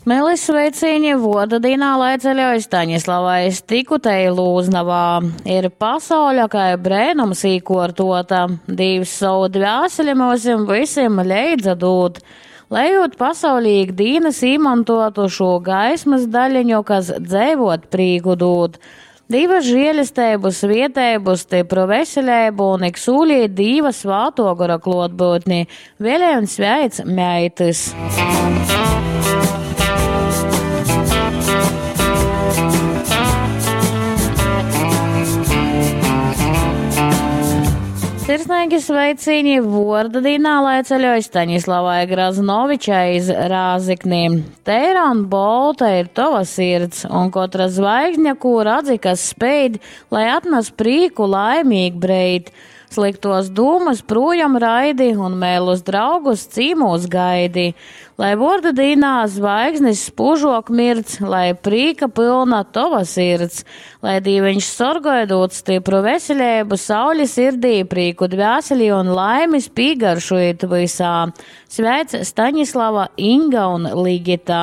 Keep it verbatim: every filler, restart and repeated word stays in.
Melis sveicīņi vuorda dīnā lai ceļoj Staņislavai Stikutei Lūznavā. Ir pasauļa kai breinums īkuortuota, Dīvs sovu dvēseli myusim vysim leidza dūd. Lejot pasaulī ik dīnys īmontuotu šū gaismys daļeņu, kas dzeivot prīku dūd. Dīva žielesteibu, svieteibu, stypru veseleibu un ik sūlī Dīva svātuo gora kluotbyutni. Vielej un sveic meitys. Sirsneigi sveicīņi vuorda dīnā, lai ceļoj Staņislavai Graznovičai iz Rāzikni. Teira un bolta ir tova sirds, un kotra zvaigzņa, kū radzi, kas speid, lai atnas prīku laimīg breid. Sliktos dūmas prūjom raidi un mēlus draugus cīmūs gaidi. Lai vuorda dīnā zvaigznis spūžok mirdz, lai prīka pylna tova sirds. Lai Dīveņš sorgoj dūd stypru veseleibu, sauli sirdī, prīku dvēselī un laimis pīgaršujit vysā. Sveic Staņislava, Inga un Ligita.